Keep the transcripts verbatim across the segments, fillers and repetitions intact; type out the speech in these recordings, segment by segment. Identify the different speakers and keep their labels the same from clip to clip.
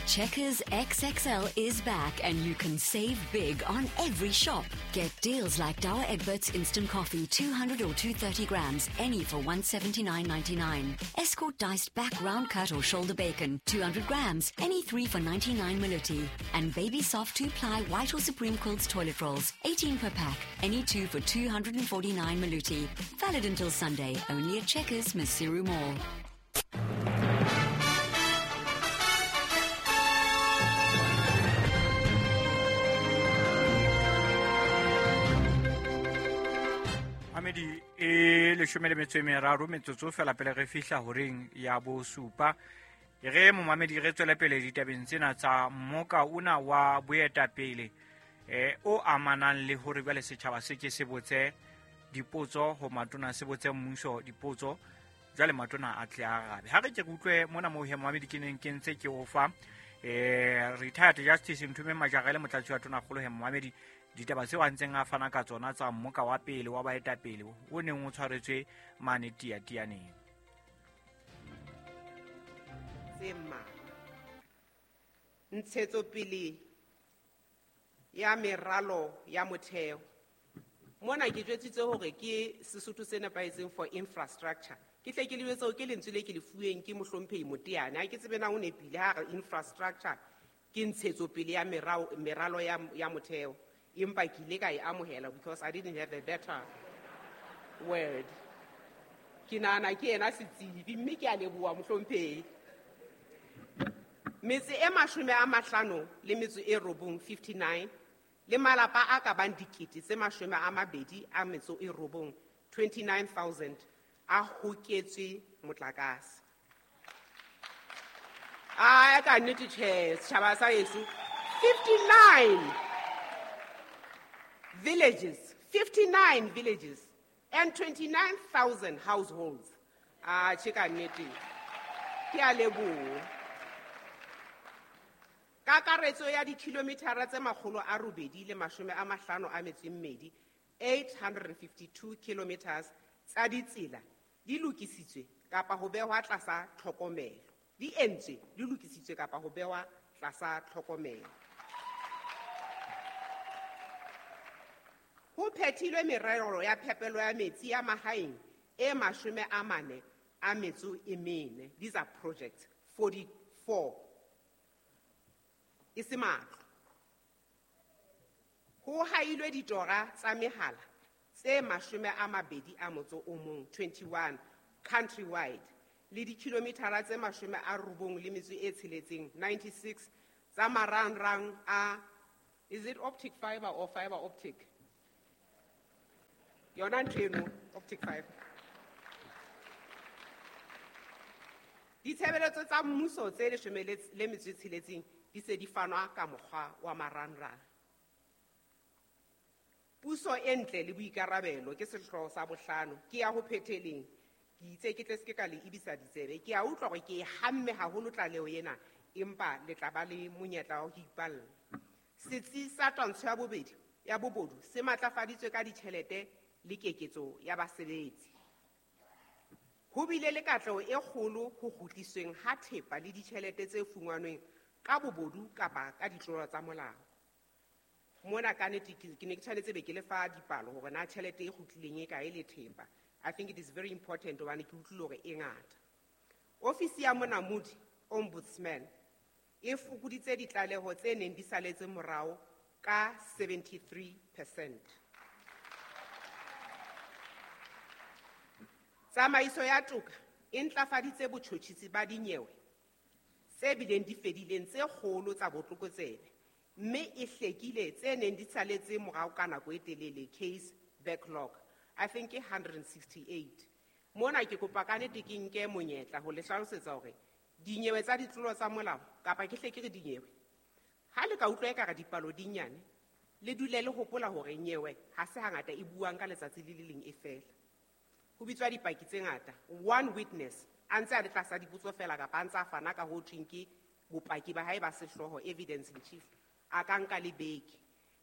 Speaker 1: Checkers X X L is back and you can save big on every shop. Get deals like Douwe Egberts Instant Coffee, two hundred or two thirty grams, any for one seventy-nine ninety-nine. Escort diced back round cut or shoulder bacon, two hundred grams, any three for ninety-nine Maluti. And Baby Soft two-ply white or Supreme Quilts toilet rolls, eighteen per pack, any two for two hundred forty-nine Maluti. Valid until Sunday, only at Checkers, Maseru Mall.
Speaker 2: Amedi e leshome le metso e meraro metsotso fela pele re fihla horeng ya bosupa. E re momamedi re tswele pele ditabeng tsena tsa mmoka ona wa boetapele eh o amanang le hore jwale setjhaba se ke se botse dipotso ho matona, se botse mmuso dipotso, jwale matona a tle a arabe. Ha re ke re utlwe mona moo he momamedi ke neng ke ntse ke o fa eh retired Justice Nthume Majara le motlatsi wa tonakgolo he momamedi ditaba tseo a ntseng a fana ka tsona tsa mmoka wa pele wa baetapele o neng o tshwaretswe mane Tiatianeng.
Speaker 3: Tse mmalwa. Ntshetsopele ya meralo ya motheo. Mona ke jwetsitse hore ke Sesotho se nepahetseng for infrastructure. Ke hle ke le jwetse hore ke lentswe le ke le fuweng ke mohlomphehi Moteane. Ha ke tsebe na o nepile ha re infrastructure ke ntshetsopele ya merao, meralo ya, ya motheo. Empa ke ile ka e amohela because I didn't have a better word. Ke nahana ke yena setsebi mme ke a leboha mohlomphehi. Metse e mashome a mahlano le metso e robong, fifty-nine, le malapa a ka bang dikete tse mashome a mabedi a metso e robong, twenty-nine thousand, a hoketswe motlakase. A ka nnete tjhe, setjhaba sa heso, fifty-nine villages, fifty-nine villages and twenty-nine thousand households. Ah, tjhe ka nnete. Ke a leboha. Kakaretso ya dikilometara tse makgolo a robedi le mashome a mahlano a metso e mmedi, eight hundred fifty-two kilometers tsa ditsela di lokisitswe kapa ho behwa tlasa tlhokomelo. Di entswe, di lokisitswe kapa ho behwa tlasa tlhokomelo. Ho phethilwe merero ya phepelo ya metsi ya mahaeng e mashome a mane a metso e mene. These are projects, forty-four. E se matlo. Ho hailwe ditora tsa mehala tse mashome a mabedi a motso o mong, twenty-one, countrywide, le dikilometara tse mashome a robong le metso e tsheletseng, ninety-six, tsa marangrang a, is it optic fiber or fiber optic? Yona ntho eno, optic fiber. Ditshebeletso tsa mmuso tse leshome le metso e tsheletseng di se di fanwa ka mokgwa wa marangrang. Puso e ntle le boikarabelo ke sehlooho sa bohlano, ke ya ho phetheleng. Ke itse ke tle se ke ka le ebisa ditsebe. Ke a utlwa hore ke e hamme haholo tlaleho ena, empa le tla ba le monyetla wa ho ipalla. Setsi sa twantsho ya bobedi ya bobodu se matlafaditswe ka ditjhelete le keketso ya basebetsi. Ho bile le katleho e kgolo ho kgutlisweng ha thepa le ditjhelete tse fumanweng ka bobodu kapa ka ditlolo tsa molao. Mona ka nnete ke, ke ne ke tshwanetse be ke le fa dipalo hore na tjhelete e kgutlileng e kae le thepa. I think it is very important hobane ke utlwile hore e ngata. Ofisi ya Monamodi, Ombudsman, e fokoditse ditlaleho tse neng di saletse morao ka seventy-three percent. Tsamaiso ya toka e ntlafaditse botjhotjhisi ba dinyewe tse bileng di fedileng tse kgolo tsa botlokotsebe, mme e hlekile tse neng di saletse morao ka nako e telele, case backlog, I think ke hundred sixty-eight. Mona ke kopa ka nnete ke nke monyetla ho le hlalosetsa hore dinyewe tsa ditlolo tsa molao, kapa ke hle ke re dinyewe, ha le ka utlwa ekare dipalo di nyane, le dule le hopola hore nyewe ha se hangata e buang ka letsatsi le le leng e fela. Ho bitswa dipaki tse ngata, one witness a ntse a le tlasa dipotso fela kapa a ntse a fana ka ho thweng ke bopaki ba hae ba sehlooho, evidence in chief, a ka nka le beke.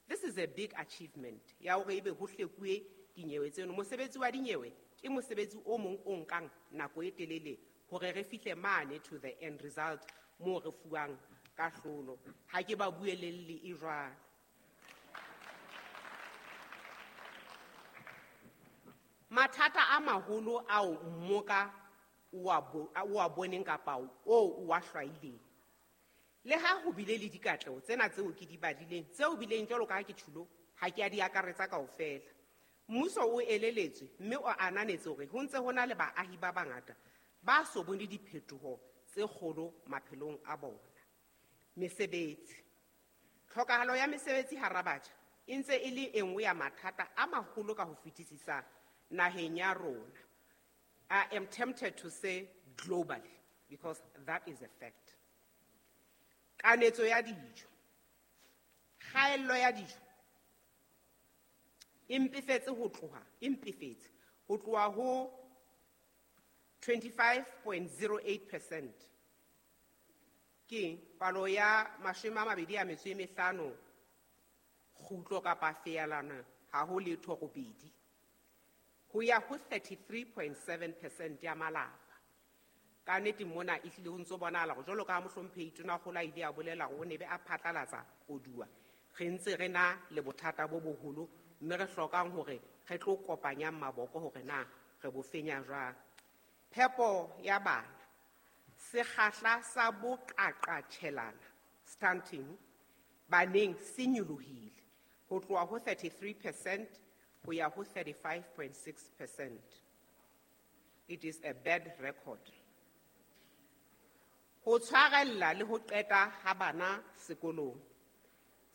Speaker 3: This is a big achievement ya hore ebe ho hlekuwe dinyewe tseno. Mosebetsi wa dinyewe ke mosebetsi o mong o nkang nako e telele hore re fihle mane to the end result moo re fuwang kahlolo. Ha ke ba buelelle e jwalo. Mathata a maholo ao mmoka o a bo-, o a boneng kapa o o a hlwaileng. Le ha ho bile le dikatleho tsena tseo ke di badileng, tseo bileng jwalo ka ha ke tjhulo, ha ke a di akaretsa kaofela. Mmuso o eleletswe mme o ananetse hore ho ntse ho na le baahi ba bangata ba so bone diphetoho tse kgolo maphelong a bona. Mesebetsi. Tlhokahalo ya mesebetsi hara batjha e ntse e le e nngwe ya mathata a maholo ka ho fetisisa naheng ya rona. I am tempted to say globally, because that is a fact. Kanetso ya dijo. Kgaello ya dijo e mpefetse ho tloha, e mpefetse ho tloha ho twenty-five point zero eight percent. Ke palo ya mashome a mabedi a metso e mehlano kgutlo kapa feelana ha ho letho robedi ho ya ho thirty-three point seven percent ya malapa. Ka nnete mona e hlile ho ntso bonahala hore jwalo ka ha mohlomphehi Tonakgolo a ile a bolela hore o ne be a phatlalatsa koduwa, re ntse re na le bothata bo boholo mme re hlokang hore re tlo kopanyang maboko hore na re bo fenya jwang. Phepo ya bana, sekgahla sa boqaqatjhelana stunting baneng se nyolohile ho tloha ho thirty-three percent ho ya ho thirty-five point six percent. It is a bad record. Ho tshwarella le ho qeta ha bana sekolong.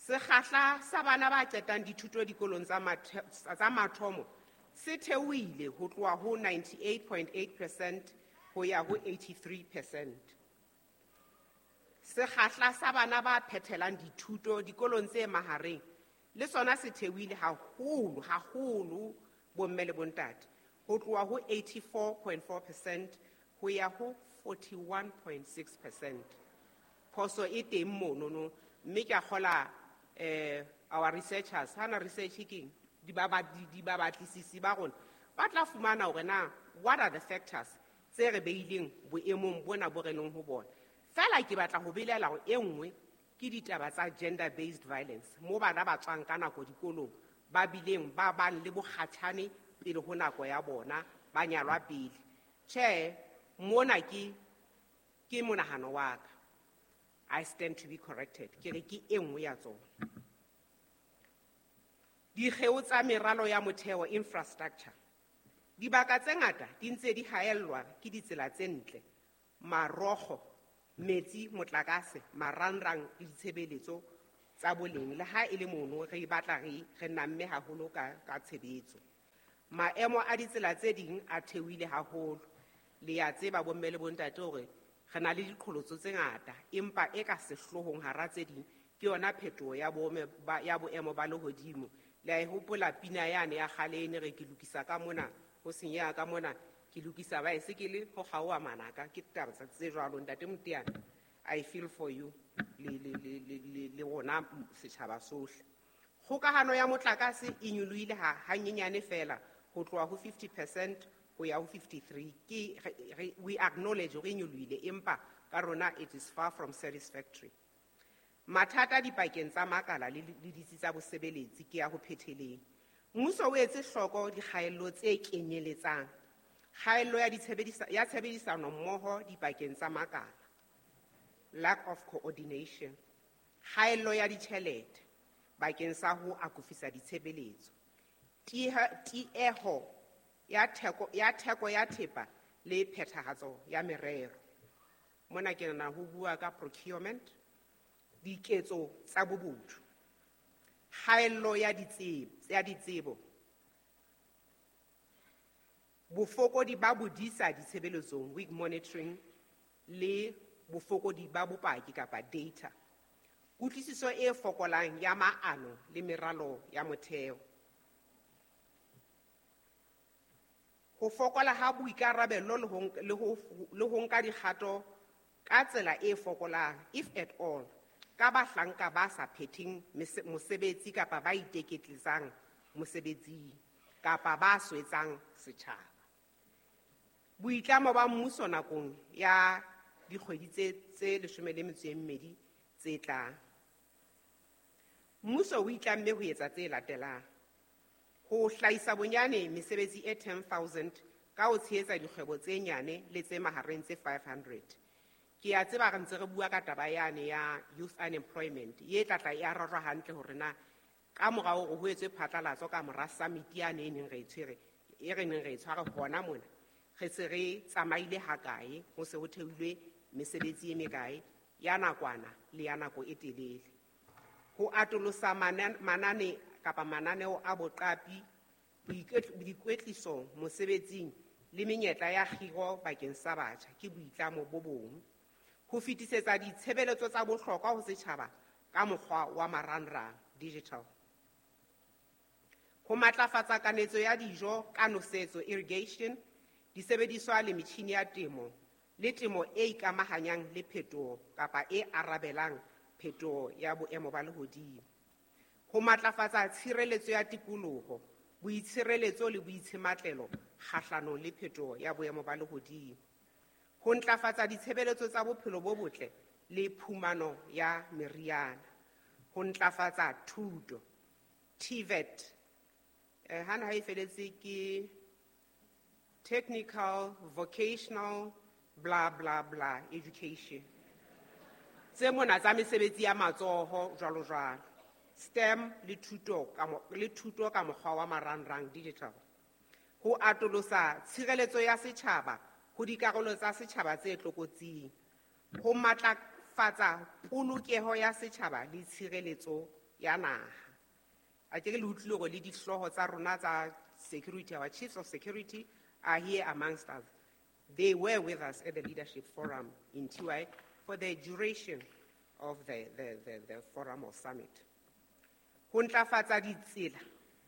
Speaker 3: Sekgahla sa bana ba qetang dithuto dikolong tsa mathe-, tsa mathomo se theohile ho tloha ho ninety-eight point eight percent ho ya ho eighty-three percent. Sekgahla sa bana ba phethelang dithuto dikolong tse mahareng le sona se theohile haholo, haholo bomme le bontate, ho tloha ho eighty-four point four percent ho ya ho forty-one point six percent. Phoso e teng monono, mme ke a kgola, eh, our researchers, hana research ke eng? Di ba ba, di, di ba batlisisi ba rona, ba tla fumana hore na what are the factors tse re beileng boemong bona bo re leng ho bona. Feela ke batla ho belela hore e nngwe ke ditaba tsa gender based violence, mo bana ba tswang ka nako dikolong ba bileng ba bang le bokgatjhane pele ho nako ya bona, ba nyalwa pele. Tjhe, mona ke, ke monahano wa ka. I stand to be corrected. Ke re ke e nngwe ya tsona. Dikgeo tsa meralo ya motheo infrastructure. Dibaka tse ngata di ntse di haellwa ke ditsela tse ntle, marokgo, metsi, motlakase, marangrang le ditshebeletso tsa boleng. Le ha e le mono re batla re, re namme haholo ka, ka tshebetso. Maemo a ditsela tse ding a theohile haholo. Le ya tseba bomme le bontate hore re na le diqholotso tse ngata, empa e ka sehloohong hara tse ding ke yona phetoho ya boemo ba, ya boemo ba lehodimo. Le a e hopola pina yane ya kgale e ne re ke lokisa ka mona, ho senyeha ka mona, ke lokisa baesekele ho kgaoha manaka, ke taba tsa tse jwalo. Ntate Moteane, I feel for you le, le, le, le, le, le rona setjhaba sohle. Kgokahano ya motlakase e nyolohile ha, hanyenyane feela ho tloha ho fifty percent ho ya ho fifty-three. Ke, re, re, we acknowledge hore e nyolohile, empa ka rona it is far from satisfactory. Mathata dipakeng tsa makala le, le ditsi tsa bosebeletsi ke ya ho phetheleng. Mmuso o etse hloko dikgaello tse kenyeletsang kgaello ya ditshebedisa-, ya tshebedisano mmoho dipakeng tsa makala, lack of coordination, kgaello ya ditjhelete bakeng sa ho akofisa ditshebeletso, tieho, tieho ya theko, ya theko ya thepa le phethahatso ya merero. Mona ke nahana ho bua ka procurement, diketso tsa bobodu, kgaello ya ditsebo, ya ditsebo, bofokodi ba bodisa ditshebeletsong, weak monitoring, le bofokodi ba bopaki kapa data, kutlwisiso e fokolang ya maano le meralo ya motheo, ho fokola ha boikarabelo le ho nk-, le ho, le ho nka dikgato ka tsela e fokolang, if at all, ka bahlanka ba sa phetheng mese-, mosebetsi kapa ba iteketletsang mosebetsing kapa ba swetsang setjhaba. Boitlamo ba mmuso nakong ya dikgwedi tse tse leshome le metso e mmedi tse tlang. Mmuso o itlamme ho etsa tse latelang: ho hlahisa bonyane mesebetsi e ten thousand ka ho tshehetsa dikgwebo tse nyane le tse mahareng tse five hundred. Ke a tseba re ntse re bua ka taba yane ya youth unemployment, ye tla tla e arajwa hantle hore na ka mora hore ho etswe phatlalatso ka mora summit yane e neng re e tshwere, e re neng re e tshware hona mona, re se re tsamaile hakae, ho se ho theilwe mesebetsi e mekae ya nakwana le ya nako e telele. Ho atolosa manane kapa mananeo a boqapi, boikwetliso mosebetsing le menyetla ya kgiro bakeng sa batjha ke boitlamo bo bong. Ho fetisetsa ditshebeletso tsa bohlokwa ho setjhaba ka mokgwa wa marangrang, digital. Ho matlafatsa kanetso ya dijo ka nosetso, irrigation, disebediswa le metjhini ya temo le temo e ikamahanyang le phetoho kapa e arabelang phetoho ya boemo ba lehodimo. Ho matlafatsa tshireletso ya tikoloho, boitshireletso le boitshematlelo kgahlanong le phetoho ya boemo ba lehodimo. Ho ntlafatsa ditshebeletso tsa bophelo bo botle le phumano ya meriana. Ho ntlafatsa thuto, T V E T, eh, hana ha e feletse ke technical, vocational, bla bla bla education. Tse mona tsa mesebetsi ya matsoho jwalo jwalo. STEM le thuto ka le thuto ka mokgwa wa marangrang, digital. Ho atolosa tshireletso ya setjhaba ho dikarolo tsa setjhaba tse tlokotsing. Ho matlafatsa polokeho ya setjhaba le tshireletso ya naha. A ke le utlwile hore le dihlooho tsa rona tsa security, our chiefs of security are here amongst us. They were with us at the leadership forum in T Y for the duration of the, the, the, the forum or summit. Ho ntlafatsa ditsela,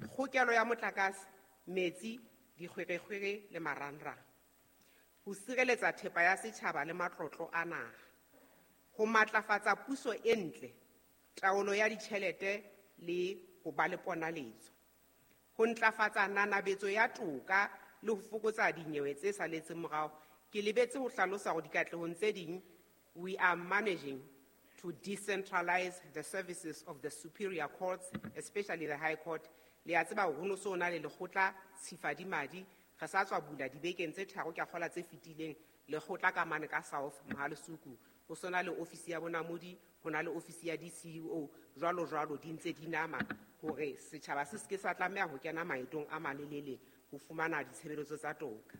Speaker 3: kgokelo ya motlakase, metsi, dikgwerekgwere le marangrang. Ho sireletsa thepa ya setjhaba le matlotlo a naha. Ho matlafatsa puso e ntle, taolo ya ditjhelete le ho ba le ponaletso. Ho ntlafatsa nanabetso ya toka le ho fokotsa dinyewe tse saletseng morao. Ke lebetse ho hlalosa hore dikatlehong tse ding, we are managing to decentralize the services of the superior courts, especially the High Court. Le a tseba hore ho no so na le lekgotla Tshifadimadi, re sa tswa bula dibekeng tse tharo ke a kgola tse fetileng, lekgotla ka mane ka South Mohalesuku. Ho sona le ofisi ya bonamodi, ho na le ofisi ya D C U O, jwalo jwalo di ntse di nama hore setjhaba se seke sa tlameha ho kena maetong a malelele ho fumana ditshebeletso tsa toka.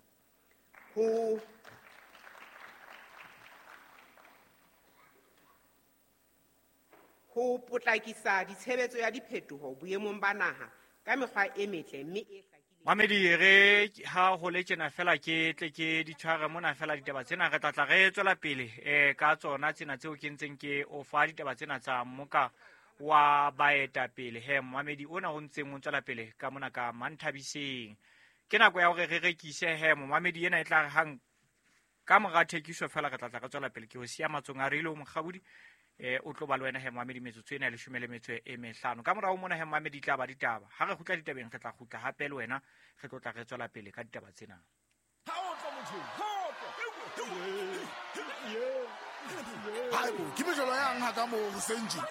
Speaker 3: Ho ho potlakisa ditshebetso ya diphetoho boemong ba naha ka mekgwa e metle mme e hlakileng.
Speaker 2: Mamedi, re ha ho le tjena fela ke tle ke di tshware mona fela ditaba tsena, re tla tla re tswela pele eh ka tsona tsena tseo ke ntseng ke o fa ditaba tsena tsa mmoka wa baetapele. He mamedi ona o ntseng o tswela pele ka mona ka Manthabiseng. Ke nako ya hore re rekise he mamedi ena e tla re hang ka mora thekiso fela re tla tla re tswela pele. Ke ho siya matsong a Reilo Mokgabudi, eh o tlo ba le wena he mamedi metsotso ena ya leshome le metso e mehlano. Ka morao mona he mamedi tla ba ditaba. Ha re kgutla ditabeng re tla kgutla hape le wena, re tlo tla re tswela pele ka ditaba tsena.
Speaker 4: Ha o tlo motho, ha o tlo. Haebo, ke mejolo yang ha ka moo hoseng tje?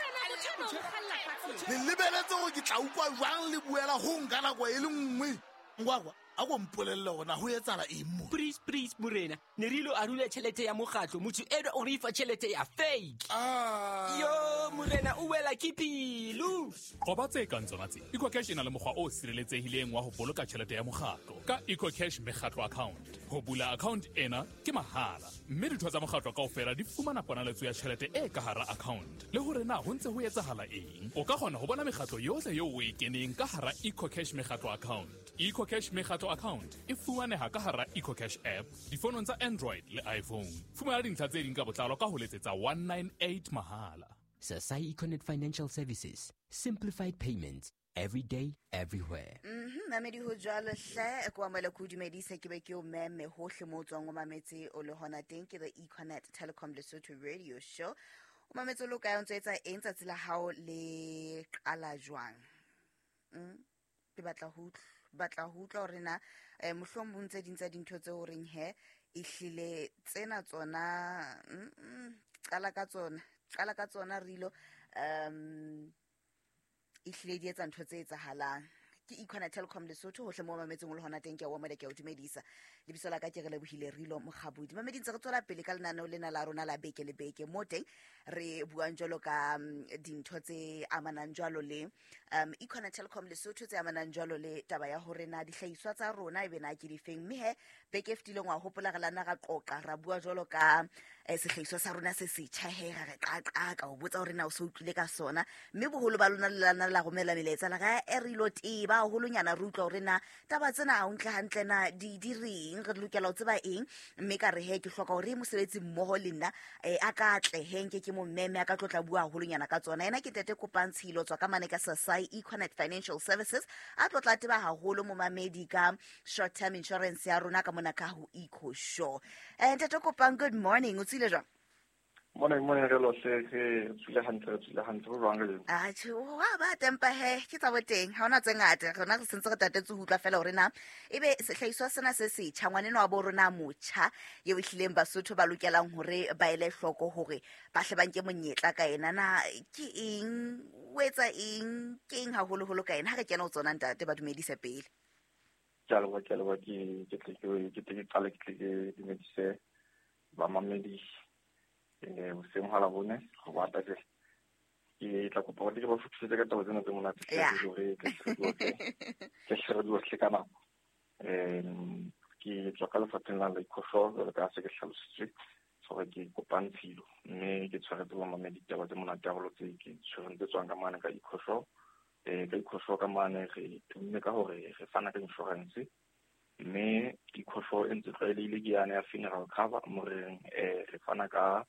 Speaker 4: Le lebeletse hore ke tla utlwa jwang le buela ho nka nako e le nngwe. Ngwakwa, a ko mpolelle hore na ho etsahala eng mo?
Speaker 5: Please, please, morena. Ne re ilo arula tjhelete ya mokgatlo, motho enwa o re fa tjhelete ya fake.
Speaker 4: Ah.
Speaker 5: Yo, morena, o wela ke pelo.
Speaker 6: Qoba tse kang tsona tse. EcoCash e na le mokgwa o sireletsehileng wa ho boloka tjhelete ya mokgatlo ka EcoCash mekgatlo account. Ho bula account ena ke mahala, mme ditho tsa mokgatlo kaofela di fumana ponaletso ya tjhelete e ka hara account. Le hore na ho ntse ho etsahala eng. O ka kgona ho bona mekgatlo yohle eo o e keneng ka hara EcoCash mekgatlo account. EcoCash mekgatlo account e fumaneha ka hara EcoCash app difonong tsa Android le iPhone. Fumana dintlha tse ding ka botlalo ka ho letsetsa one nine eight mahala.
Speaker 5: Sasai Econet Financial Services, simplified payments every day, everywhere.
Speaker 7: Mhm, mamedi ho jwalo hle, ko amohela ko dumedisa ke be ke o meme hohle mo tswang o mametse o le hona teng ke the Econet Telecom Lesotho Radio Show. O mametse o lo kae o ntso etsa eng tsatsi la hao le qala jwang? Mm, ke batla ho utlwa, batla ho utlwa hore na um mohlomong tse ding tsa dintho tse o reng he ehlile tsena tsona qala ka tsona qala ka tsona rilo um ehlile di etsa ntho tse etsahalang. Ke Econet Telkom Lesotho hohle mo mametseng o le hona teng ke a o amela ke a o dumedisa. Lebitso la ka ke re lebohile Rilo Mokgabudi. Mamedi ntse re tswela pele ka lenaneo lena la rona la beke le beke mo teng re buang jwalo ka dintho tse amanang jwalo le um Econet Telkom Lesotho tse amanang jwalo le taba ya hore na dihlahiswa tsa rona ebe na ke difeng. Mme he beke e fetileng wa hopola re lana ra qoqa ra bua jwalo ka sehlahiswa sa rona se setjha he ra re qaqa o botsa hore na o so utlwile ka sona. Mme boholo ba lona le lana la romela melaetsa la ga e Rilo teba haholonyana re utlwa hore na taba tsena ha o ntle hantle na di di reng re lokela ho tseba eng. Mme ka re he ke hloka hore mosebetsi mmoho le nna a ka tle he nke ke mo mmeme a ka tlotla bua haholonyana ka tsona. Ena ke Tete Kopang Tshilo tswa ka mane ka Sasai Econet Financial Services a tlotla teba haholo momamedi ka short term insurance ya rona ka mona ka ho Eco Show. Eh Tete Kopang, good morning, o tsile jwang?
Speaker 8: Morning, morning, re lohle re tswile hantle, re tswile hantle, ho jwang re?
Speaker 7: Ah, tjhe, wa ba tempa he, ke tsa boteng, ha hona tse ngata, rona re sentse re tatetse ho utlwa fela hore na ebe sehlahiswa sena se setjha ngwaneno wa bo rona motjha eo ehlileng Basotho ba lokelang hore ba ele hloko hore ba hle ba nke monyetla ka ena na ke eng, o etsa eng, ke eng haholoholo ka ena. Ha re kena ho tsona ntate ba dumedise pele.
Speaker 8: Ke a leboha, ke a leboha, ke ke tle ke ke tle ke qale ke tle ke dumedise bamamedi eh hoseng ha la bone go bata ke ke tla kopa hore ke ba futhusetse ka taba tsena tse monate hore ke ke hle re ka nako. Em ke tswa ka lefapheng la Ecoshore jwalo ka se ke hlalositswe hore ke Kopang Tshilo mme ke tshwaretse bamamedi ditaba tse monate haholo tse ke tshwereng tse tswang ka mane ka Ecoshore. Eh ka Ecoshore ka mane re tumme ka hore re fana ka insurance mme Ecoshore e ntse tlwaelehile ke yane ya funeral cover mo reng eh re fana ka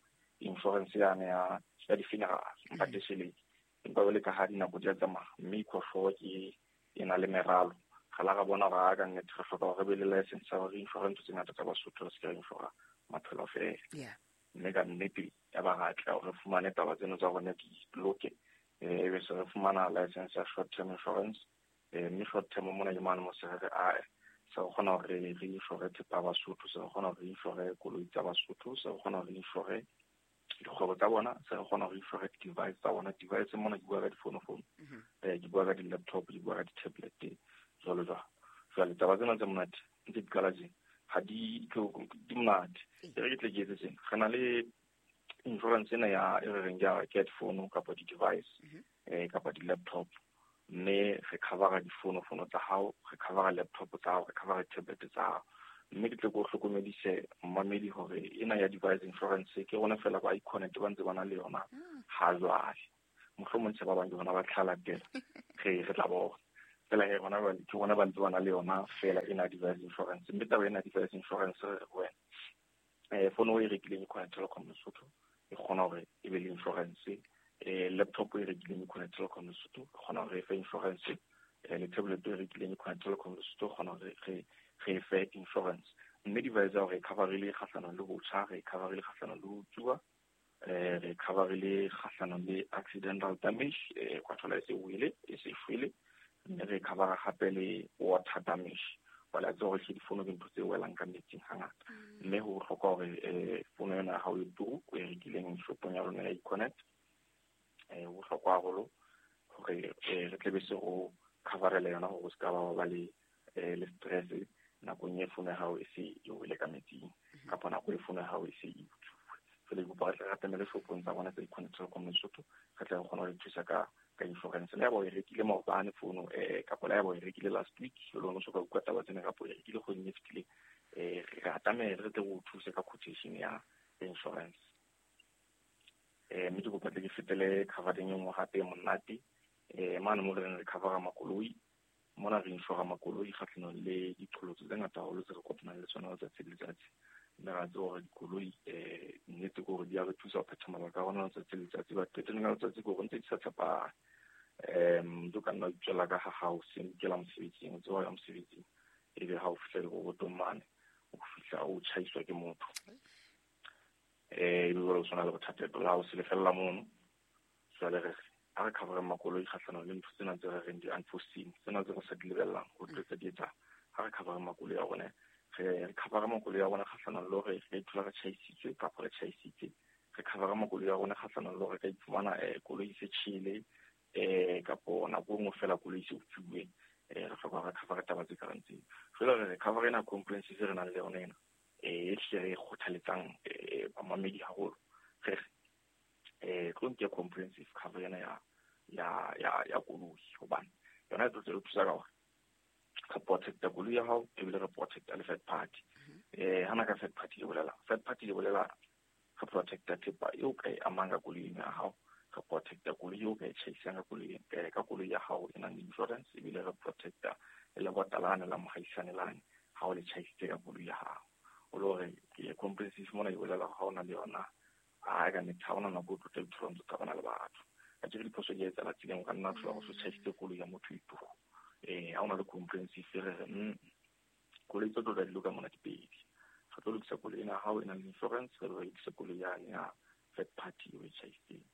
Speaker 8: insurance yane ya ya di-funeral empa tjhelete empa jwale ka ha dinako di a tsamaya mme Ecoshore ke e na le meralo ga la ga bona hore a ka nnete re hloka hore re be le license ya hore insurance tse ngata tsa Basotho re se ke ra insura maphelo feela. Mme ka nnete ya ba ra tla hore re fumane taba tseno tsa rona di loke eh ebe se re fumana license ya short term insurance eh mme short term mona ke mane mo se re a se re kgona hore re insure thepa ya Basotho, se re kgona hore re insure koloi tsa Basotho, se re kgona hore re insure dikgwebo tsa bona, se re kgona hore re insure device tsa bona. Device mona ke bua ka difonofono, eh ke bua ka di-laptop, ke bua ka di-tablet jwalo jwalo. Jwale taba tsena tse monate ntse di qala tje ha di di monate. E re ke tle ke etse tjena, re na le insurance ena ya e re reng ke ya ke ya difono kapa di-device eh kapa di-laptop mme re covera difonofono tsa hao, re covera laptop tsa hao, re covera tablet tsa hao. Mme ke tle ke o hlokomedise mmamedi hore ena ya device insurance ke rona fela ba Econet ba ntse ba na le yona ha jwale. Mohlomong tjhe ba bang ke bona ba tlhalatela re re tla bona fela he rona ba ke rona ba ntse ba na le yona fela ena device insurance. Mme taba ena device insurance re re wena eh fono e rekileng Econet Telkom Lesotho e kgona hore e be le insurance, eh laptop e rekileng Econet Telkom Lesotho e kgona hore e fe insurance, eh le tablet e rekileng Econet Telkom Lesotho e kgona hore re re fe insurance. Mme device ya hore e coverile kgahlanong le ho tjha, re coverile kgahlanong le ho tsuwa, eh re coverile kgahlanong le accidental damage eh kwa thola e se wele e se shwele, mme re covera hape le water damage. Wala tse hore ke difono ke ntho tse welang ka metsing hangata mme ho bohlokwa hore eh fono yona ha o e turu o e rekileng shopong ya rona ya Econet eh ho bohlokwa haholo hore re tle be se ho coverela yona hore o se ka ba ba le le stress nakong e fono ya hao e se e wele ka metsing kapa nako e fono ya hao e se e utsuwe. Jwale ke kopa re tle re atamele shopong tsa rona tsa Econet Telkom Lesotho re tle re kgone ho le thusa ka ka insurance. Le ya ba o e rekile maobane fono eh kapa le ya ba o e rekile last week jwale o no soka utlwa taba tsena kapa o e rekile kgweding e fetileng eh re atamele re tle re o thuse ka quotation ya insurance. Eh mme ke kopa tle ke fetele covering e nngwe hape e monate eh mane mo re reng re covera makoloi. Mona re insura makoloi kgahlanong le diqholotso tse ngata haholo tse re kopanang le tsona letsatsi le letsatsi. Mme ra tseba hore dikoloi eh nnete ke hore di a re thusa ho phetha mabaka a rona letsatsi le letsatsi. But qetellong ya letsatsi ke hore ntse di sa tshepahale. Um ntse o ka nna wa itswela ka ha hao se kela mosebetsing, o tseba ho ya mosebetsing ebe ha o fihla dirobotong mane o fihla o tjhaiswa ke motho eh ebe jwale o tshwana le bothata la ho se lefella mono. Jwale re a re covereng makoloi kgahlanong le ntho tsena tse re reng di-unforeseen tsena tse re sa di lebellang ho tlo tsa di etsa Ha re cover makoloi a rona, re re cover makoloi a rona kgahlanong le hore re ithola re tjhaisitswe kapa re tjhaisitse. Re cover makoloi a rona kgahlanong le hore re ka iphumana eh koloi e se tjhele eh kapo nako e nngwe fela koloi e se utswuwe. Eh re hloka re cover taba tse kareng tseo. Jwale re re cover ena comprehensive re nang le yona ena eh e hle re kgothaletsang eh bamamedi haholo. Re re eh tlo nke comprehensive cover ena ya ya ya ya koloi hobane yona e tlo re thusa ka hore re protecta koloi ya hao ebile re protecta le third party. Eh hana ka third party e bolela third party e bolela re protecta thepa eo ka e amang ka koloing ya hao, re protecta koloi eo ka e tjhaisang ka koloi ka koloi ya hao e nang le insurance, ebile re protecta le lebota lane la mohaisane lane ha o le tjhaisitse ka koloi ya hao. O le hore ke comprehensive mona e bolela ha o na le yona a ka nnete ha ona nako o tlo tla ithola o ntso qabana le batho. Ka tjhe diphoso di etsahala tseleng, o ka nna thola go so tjhaisitse koloi ya motho ituho. Eh ha ona le comprehensive re re mm koloi tse tlo tla di loka mona di pedi. Re tlo lokisa koloi ena ha o e nang le insurance, re re lokise koloi yane ya third party o e tjhaisitseng.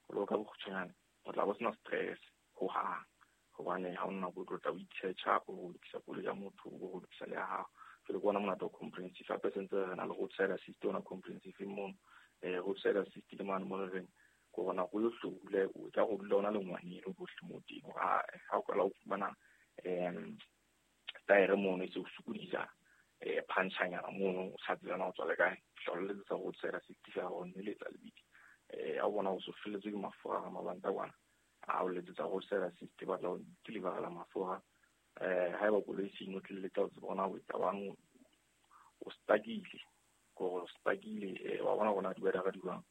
Speaker 8: O lo ka bokgutshwanyane o tla bo sena stress hohang hobane ha ona nako o tlo tla o itjhetjha o lokisa koloi ya motho o lokisa le ya hao. Jwale ke ona monate wa comprehensive. Hape sentse re na le roadside assist ona comprehensive mono. Eh roadside assist ke mane mo re reng ko bona go yo hlole o tla go dula ona le ngwaneno bohle mo teng hore ha ha o qala o fumana em taere mono e se o sokodisa eh punchanyana mono o sa tsebana o tswa le kae tla letsetsa roadside assist ya hao mme letsa lebidi. Eh a bona o so felletswe ke mafura a mabanta kwana a o letsetsa roadside assist ba tla o deliverela mafura. Eh haeba koloi se inotleletse o tseba ona o etsa bang o stakile gore o stakile eh wa bona gona di weather di jwang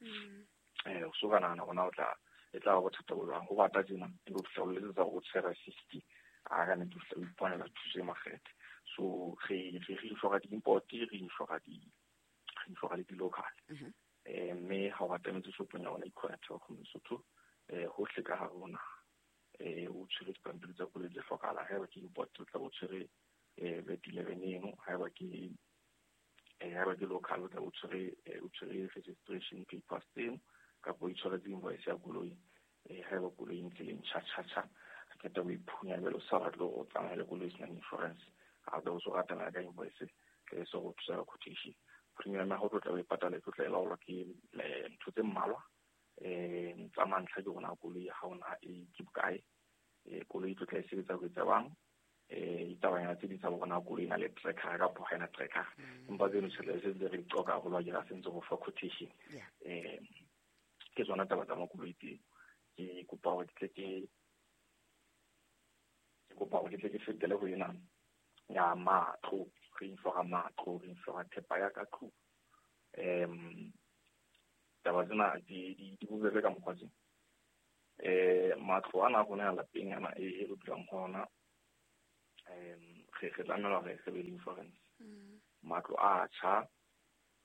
Speaker 8: eh o so ka nahana gona o tla e tla ba bothata bo jwang go bata tjena e bo fihla o letsetsa roadside assist a ka nnete o fihla o iponela thuso e makgethe. So re re re insure di-import, re insure di re insure le di-local. Eh mme ha o atametse shopong ya rona Econet Telkom Lesotho eh hohle ka hare ho naha eh o tshwere dipampiri tsa koloi tse hlokahalang. Haeba ke import o tla bo tshwere eh vat eleven eno, haeba ke eh haeba ke local o tla bo tshwere o tshwere registration papers tseno kapa o itshwaretse invoice ya koloi. Eh haeba koloi e ntse le ntjha tjha tjha re qeta ho iphunya jwale o sa batle hore o tsamaye le koloi e senang insurance ha o so ratana ka invoice ke so go thusa ka quotation. Premium ya hao tlo tla o e patala e tlo tla e laolwa ke ntho tse mmalwa. Eh tsa mantlha ke bona koloi ya hao na e ke bokae, eh koloi e tlo tla e sebetsa ho etsa bang eh ditabanyana tse ding tsa bona koloi e na le tracker kapa ha ena tracker. Empa tseno tjhelete se ntse re di qoka haholo ha ke ra sentse go fa quotation. Eh ke tsona taba tsa makoloi tseo. Ke kopa hore ke tle ke ke kopa hore ke tle ke fetele ho ena ya matlo. Re insure matlo, re insure thepa ya ka tlung. Em taba tsena di di di bobebe ka mokgwa tse. Eh matlo ana a rona a lapeng ana e re dulang ho ona em re re tlamela hore re be le insurance. Matlo a tjha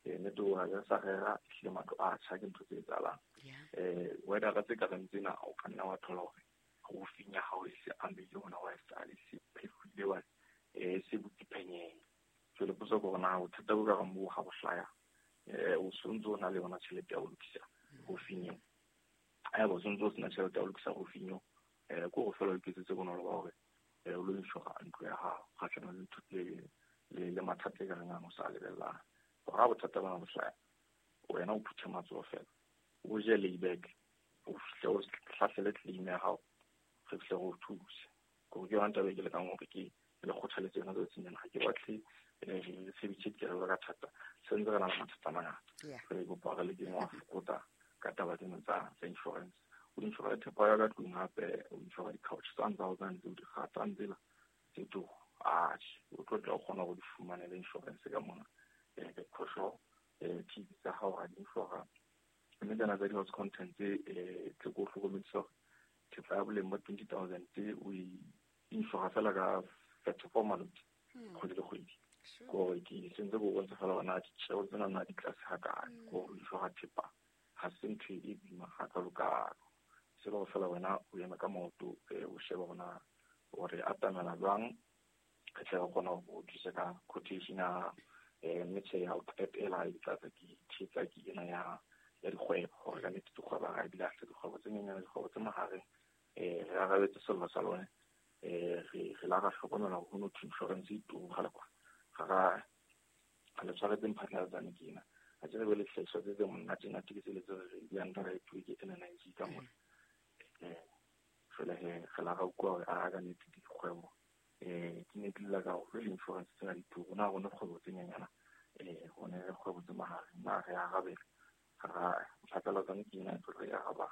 Speaker 8: eh nnete o ha re sa rera ehlile matlo a tjha ke ntho tse etsahalang. Eh weather tse ka reng tsena o ka nna wa thola hore roofing ya hao e se amehile hona wa e sale se phefuile wa eh se butse phenyeng. Jwale potso ke hore na bothata bo ka reng bo ha bo hlaya eh o sontso o na le yona tjhelete ya ho lokisa roofing eo. Haeba o sontso o sena tjhelete ya ho lokisa roofing eo eh ke hore feela o iketsetse bonolo ba hore eh o lo insure ntlo ya hao kgahlanong le ntho le le le mathata e ka reng a o sa lebellang. Hore ha bothata bona bo hlaya wena o phuthe matsoho fela o je layback o fihle o hlahlele claim ya hao re fihle re o thuse. Ke ke yona taba e ke lekang hore ke le kgothaletse yona tsatsing lena. Ha ke batle re sebedise dikelello ka thata, se ntse re na le mathata a mangata. Re kopa re lekeng ho a fokotsa ka taba tsena tsa tsa insurance. O insure thepa ya ka tlung hape o insure di-couch tsane tsa hao tsane tseo di kgatang tsela tse turu. Atjhe, o tlo tla o kgona hore o di fumanele insurance ka mona. Eh ke phoso eh T V tsa hao ha di insure. Mme tsena tsa di-house content tse eh tse ko hlokomedisa hore thepa ya boleng ba twenty thousand tse o e insure fela ka thirty-four maloti kgwedi le kgwedi. Gore ke sentse go bontsha fela hore na ditjeo tsena na di tlase ha kae. Gore o insure thepa ha se ntho e boima hakalo-kalo. Se le hore fela wena o eme ka maoto o shebe hore na o re atamela jwang re tle re kgone ho thuse ka quotation ya eh mme tjhe ya ho qetela e tla tsa ke thetsa ke ena ya ya dikgwebo hore ka nnete dikgwebo ha di lahle dikgwebo tse nyenyane dikgwebo tse mahareng eh re arabetse sello sa lona Eh re re la ra hlokomela hore ho no thwe insurance e turu kgale kwa. Ga ra ga le tshwaretse mphatlalatsane ke ena. A ke re be le dihlahiswa tse tse monate nate ke tsele tse re di underwrite ke N N I G ka mona. Eh jwale he re la ra utlwa hore a ka nnete dikgwebo eh di ne di lla ka hore le insurance tsena di turu. Na rona kgwebo tse nyenyana eh rona re kgwebo tse mahareng na re arabela. Ga mphatlalatsane ke ena e tlo re araba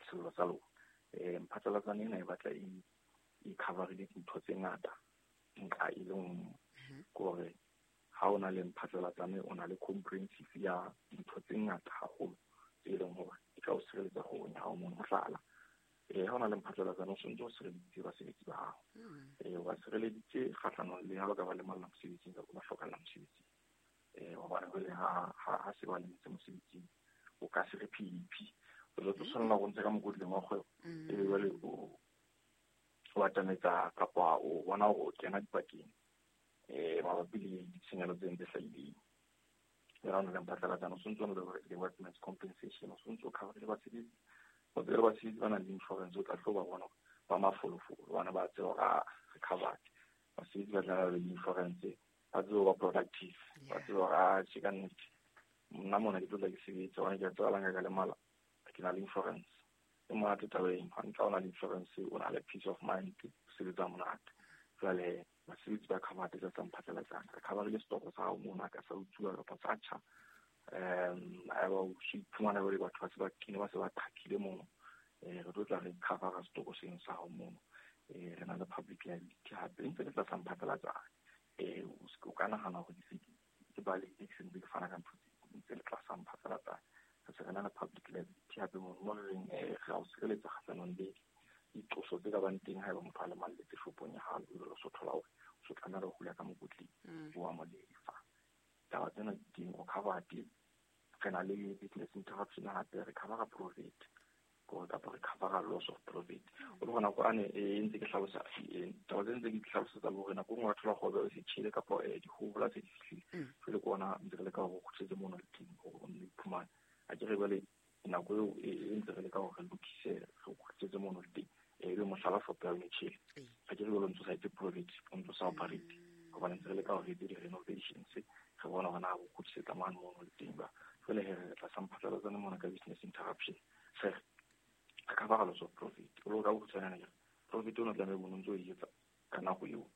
Speaker 8: sello sa lona. Eh mphatlalatsane ena e batla e e coverile dintho tse ngata nka e le nngwe. Ke hore ha o na le mphatlalatsane o na le comprehensive ya dintho tse ngata haholo tse leng hore di ka o sireletsa kgwebong ya hao mono. Mohlala, eh ha o na le mphatlalatsane o sontse o sireleditse basebetsi ba hao. Eh o ba sireleditse kgahlanong le ha ba ka ba lemalla mosebetsing kapa ba hlokahalla mosebetsing. Eh hobane jwale ha ha ha se ba lemetse mosebetsing o ka se re P E P o tlo tshwanela go ntsha ka mokotleng wa kgwebo ebe jwale o o atametsa kapa o bona hore o kena dipakeng eh mabapi le ditshenyehelo tse ntse hlahileng. Le ha o na le mphatlalatsane o sontse o na le workman's compensation, o sontse o cover le basebetsi. O tsebe basebetsi ba nang le insurance o tla tlo ba bona ba mafolofolo, bana ba tseba hore a re covered. Basebetsi ba tla le insurance ba tsebe ba productive, ba tsebe hore a tjhe ka nnete nna mona ke tlo tla ke sebetsa hobane ke a tseba la nka ka lemala ke na le insurance. E monate taba eno, ha ntle o na le insurance o na le peace of mind, o sebetsa monate. Jwale basebetsi ba covered tsa mphatlalatsane, re coverile setoko sa hao mona ka sa utsuwa kapa sa tjha. Um haeba o so iphumana jwale batho ba se ba kene ba se ba qhakile mono, eh re tlo tla re covera setoko seno sa hao mono. Eh re na le public liability hape ntse le tlasa mphatlalatsane. Eh o ka nahana hore ke se ke balehile ke sentse ke fana ka ntho tse ntse le tlasa mphatlalatsane. Re se re na le public liability hape mono mo re reng eh re a o sireletsa kgahlanong le diqoso tse ka bang teng haeba motho a lemalletse shopong ya hao, o so thola hore o so tlameha ho hula ka mokotleng o a mo lefa. Taba tsena di teng, o covered. Re na le business interruption hape, re covera profit kapa re covera loss of profit. O le gona kwane e ntse ke hlalosa taba tse ntse ke di hlalosetsa hore nako e nngwe wa thola kgwebo e se tjhele kapa dihola tse di fihlile. Jwale ke ona ntse re leka hore o kgutletse mono le teng hore o nne o iphumane. A ke re jwale nako eo e ntse re leka hore re lokise re kgutletse mono le teng. E be mohlala shop ya yone tjhele. A ke re jwale o ntso sa etse profit, o ntso sa operate. Hobane ntse re leka hore re etse di-renovations, re bona hore na o kgutlisetsa mane mono le teng ba. Jwale he re tlasa mphatlalatsane mona ka business interruption. Se re covera loss of profit. O lo ka bokgutshwanyane ke re profit o no tlameha o ntso o e etsa ka nako eo.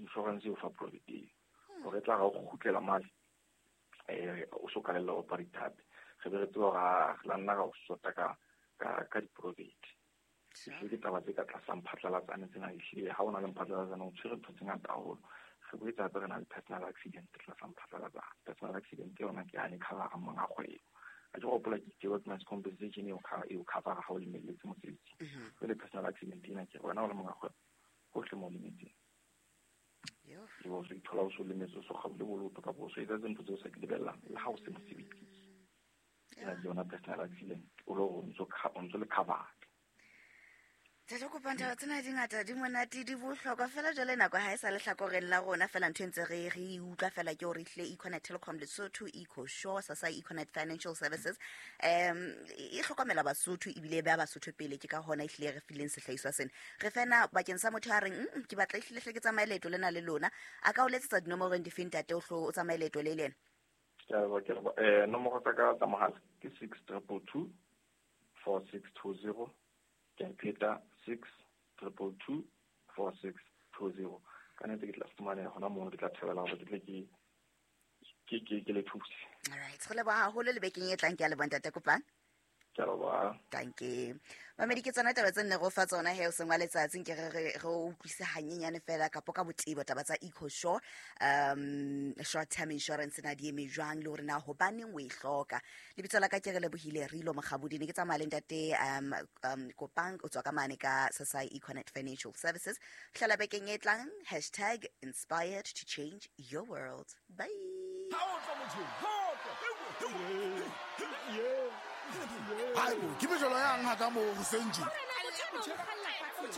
Speaker 8: Insurance eo fa profit eo. Hore e tla ra o kgutlela mane eh o so kalella operate hape. Re be re tseba hore re la nna ra o sota ka ka ka di-profit. Ehlile ke taba tse ka tlasa mphatlalatsane tsena ehlile ha o na le mphatlalatsane o tshwere ntho tse ngata haholo. Re boetse hape re na le personal accident tlasa mphatlalatsane. Personal accident yona ke yane covera monga kgwebo. A ke hopola ke itse workman's compensation eo eo covera ha o lemelletse mosebetsing. Jwale personal accident ena ke wena o le monga kgwebo hohle mo o lemetseng. Ebe o so ithola o so lemetse o so kgaole boloto kapa o so etsa ntho tseo o sa di lebellang le ha o se mosebetsing. Ena ke yona personal accident o le hore o ntso o ntso le covered.
Speaker 7: Ntate Kopang, taba tsena di ngata, di monate, di bohlokwa fela. Jwale nako ha e sa le hlakoreng la rona fela, ntho e ntse re re e utlwa fela ke hore ehlile Econet Telecom Lesotho, EcoSure, Sasa Econet Financial Services um e hlokomela Basotho ebile e beha Basotho pele. Ke ka hona ehlile re fileng sehlahiswa sena. Re fena bakeng sa motho a reng mm, ke batla ehlile hle ke tsamaye leeto lena le lona, a ka o letsetsa dinomorong dife ntate o hlo o tsamaye leeto le lena?
Speaker 8: Ke a leboha, ke a leboha. Eh nomoro tsa ka tsa mohala ke six triple two four six two zero. Ke a pheta six triple two four six two zero. Ka nnete ke tla fumaneha hona mono, ke tla thabela hore ke tle ke ke ke ke le thuse.
Speaker 7: All right, re leboha haholo le bekeng e tlang. Ke a leboha ntate Kopang.
Speaker 8: Ke a leboha.
Speaker 7: Dankie. Mamedi, ke tsona taba tse nne re o fa tsona he o seng wa letsatsi. Nke re re re o utlwise hanyenyane fela kapo ka botebo taba tsa EcoSure, um short term insurance na di eme jwang le hore na hobaneng o e hloka. Lebitso la ka ke re lebohile Rilo Mokgabudi, ne ke tsamaya le ntate um um Kopang o tswa ka mane ka Sasai Econet Financial Services. Hlala bekeng e tlang, hashtag inspired to change your world. Bye.
Speaker 4: Haebo, ke mejolo yang ha ka moo hoseng tje?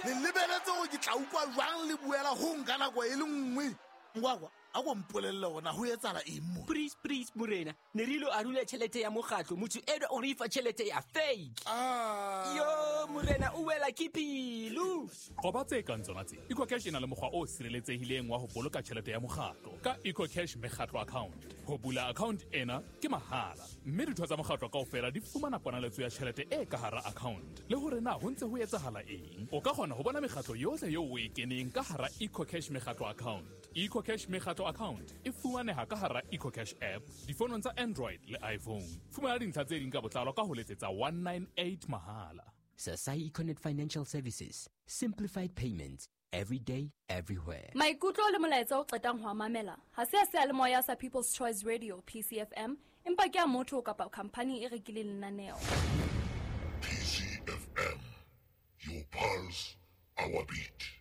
Speaker 4: Le lebeletse hore ke tla utlwa jwang le buela ho nka nako e le nngwe. Ngwakwa, A ko mpolelle hore na ho etsahala eng mo.
Speaker 5: Please, please, morena. Ne re ilo arula tjhelete ya mokgatlo, motho enwa o re fa tjhelete ya fake.
Speaker 4: Ah.
Speaker 5: Yo, morena, o wela ke pelo.
Speaker 6: Qoba tse kang tsona tse. EcoCash e na le mokgwa o sireletsehileng wa ho boloka tjhelete ya mokgatlo ka EcoCash mekgatlo account. Ho bula account ena ke mahala, mme ditho tsa mokgatlo kaofela di fumana ponaletso ya tjhelete e ka hara account. Le hore na ho ntse ho etsahala eng. O ka kgona ho bona mekgatlo yohle eo o e keneng ka hara EcoCash mekgatlo account. EcoCash mekgatlo account e fumaneha ka hara EcoCash app difonong tsa Android le iPhone. Fumana dintlha tse ding ka botlalo ka ho letsetsa one nine eight mahala.
Speaker 5: Sasai Econet Financial Services, simplified payments every day, everywhere.
Speaker 9: Maikutlo le molaetsa o qetang ho a mamela ha se a seyalemoya sa People's Choice Radio P C F M, empa ke a motho kapa khampani e rekileng lenaneo.
Speaker 10: P C F M, your pulse, our beat.